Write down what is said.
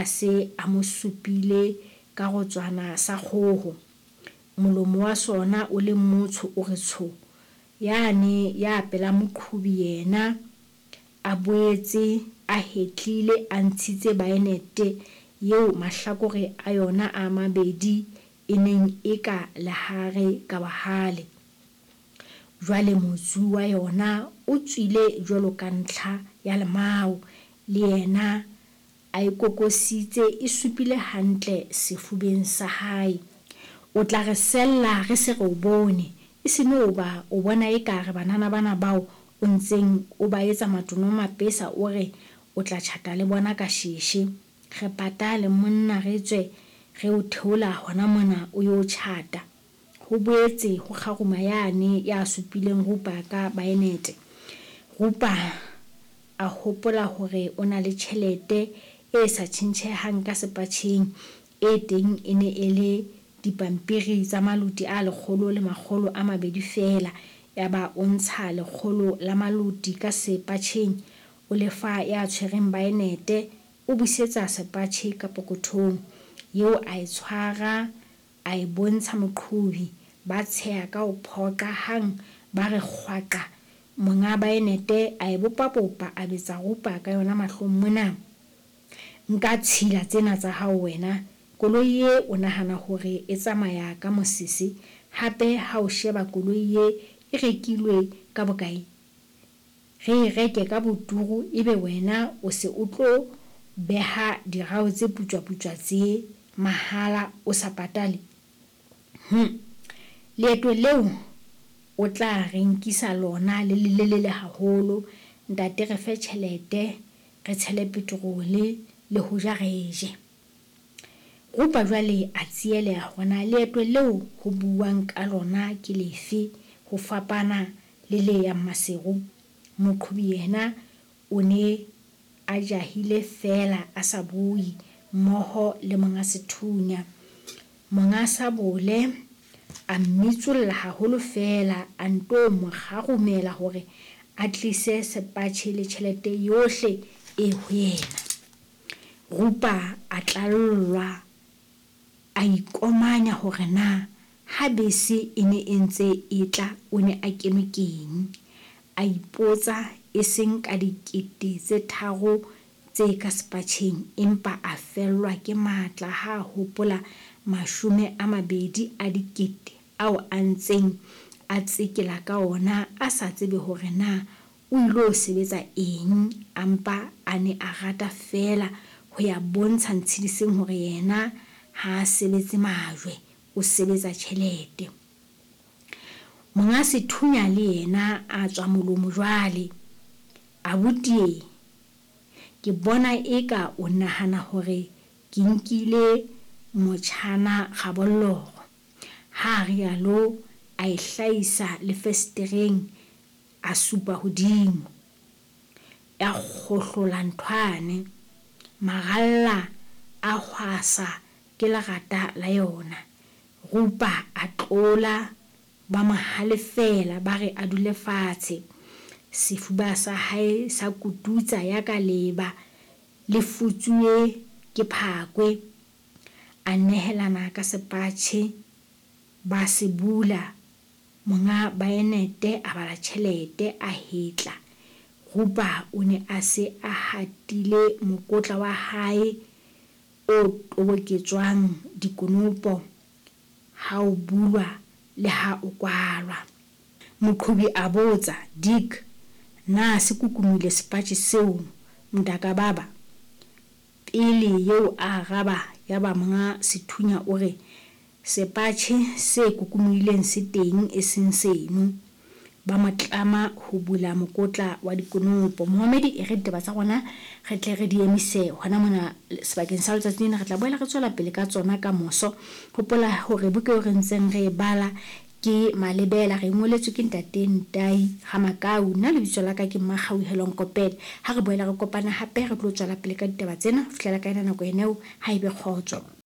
ha a se a mo supile ka rotswana sa kgoho. Molomo wa sona o le motsho o re tsho. Yane ya pela moqhobi yena a boetse a hetlile a ntshitse baenete eo mahlakore a yona a mabedi e neng e ka lehare ka bohale. Jwale motsu wa yona o tswile jwalo ka ntlha ya lemao, le yena a e kokositse e supile hantle sefubeng sa hae. O tla re sella re se re o bone, e se no ba o bona eka re banana bana bao o ntseng o ba etsa matono mapesa o re o tla tjhata le bona ka sheshe. Re patale monna re tswe re o theola hona mona o yo tjhata. Ho boetse ho kgaruma yane ya supileng Rupa ka baenete. Rupa a hopola hore o na le tjhelete e sa tjhentjhehang ka sepatjheng, e teng e ne e le dipampiri tsa maloti a 1200 feela. Yaba o ntsha 100 la maloti ka sepatjheng, o le fa ya tshwereng baenete, o busetsa sepatjhe ka pokothong. Eo a e tshwara a e bontsha moqhobi, ba tsheha ka ho phoqa hang ba re kgwaqa. Monga baenete a e bopabopa a betsa Rupa ka yona mahlong mona. Nka tshila tsena tsa hao wena. Koloi ye o nahana hore e tsamaya ka mosese? Hape ha o sheba koloi ye e rekilwe ka bokae? Re e reke ka boturu ebe wena o se o tlo beha dirao tse putswaputswa tse mahala o sa patale? Hum! Leeto leo o tla re nkisa lona le lelelele haholo. Ntate re fe tjhelete re tshele peterole le ho ja re je. Rupa jwale a tsieleha hore na leeto leo ho buuwang ka lona ke lefe ho fapana le le yang Maseru. Moqhobi yena o ne a jahile feela a sa bue, mmoho le monga sethunya. Monga sabole a mmitsolla haholo feela a nto mo kgarumela hore a tlise sepatjhe le tjhelete yohle e ho yena. Rupa a tlallwa, a ikomanya hore na ha bese e ne e ntse e tla o ne a kenwe keng. A ipotsa e seng ka 3000 tse ka sepatjheng, empa a fellwa ke matla ha a hopola 20 a dikete ao a ntseng a tsekela ka ona a sa tsebe hore na o ilo sebetsa eng, a mpa a ne a rata feela ho ya bontsha Ntshediseng hore yena ha a sebetse majwe, o sebetsa tjhelete. Monga sethunya le yena a tswa molomo jwale. Abuti e, ke bona eka o nahana hore ke nkile motjhana kgabolloro. Ha a rialo a e hlahisa le fesetereng a supa hodimo. Ya kgohlola nthwane. Maralla a hwasa ke lerata la yona. Rupa a tlola, ba mo halefela ba re a dule fatshe. Sefuba sa hae sa kututsa yaka leeba le futsuwe ke phakwe. A nehelana ka sepatjhe, ba se bula. Monga baenete a bala tjhelete, a hetla. Rupa o ne a se a hatile mokotla wa hae o toboketswang dikonopo ha o bulwa le ha o kwalwa. Moqhobi a botsa, Dick, na se kukumile sepatjhe seo mntakababa? Pele eo a araba yaba monga sethunya o re, Sepatjhe se kukumohileng se teng e seng seno. Ba mo tlama ho bula mokotla wa dikonopo. Momamedi, e re ditaba tsa rona re tle re di emise hona mona sebakeng sa letsatsi lena. Re tla boela re tswela pele ka tsona ka moso. Hopola hore buka eo re ntseng re e bala ke Malebela, re e ngoletswe ke Ntate Ntai Ramakau. Nna lebitso la ka ke Mmakgauhelo Nkopele. Ha re boela re kopana hape re tlo tswela pele ka ditaba tsena ho fihlela ka yona nako ena eo, ha ebe kgotso.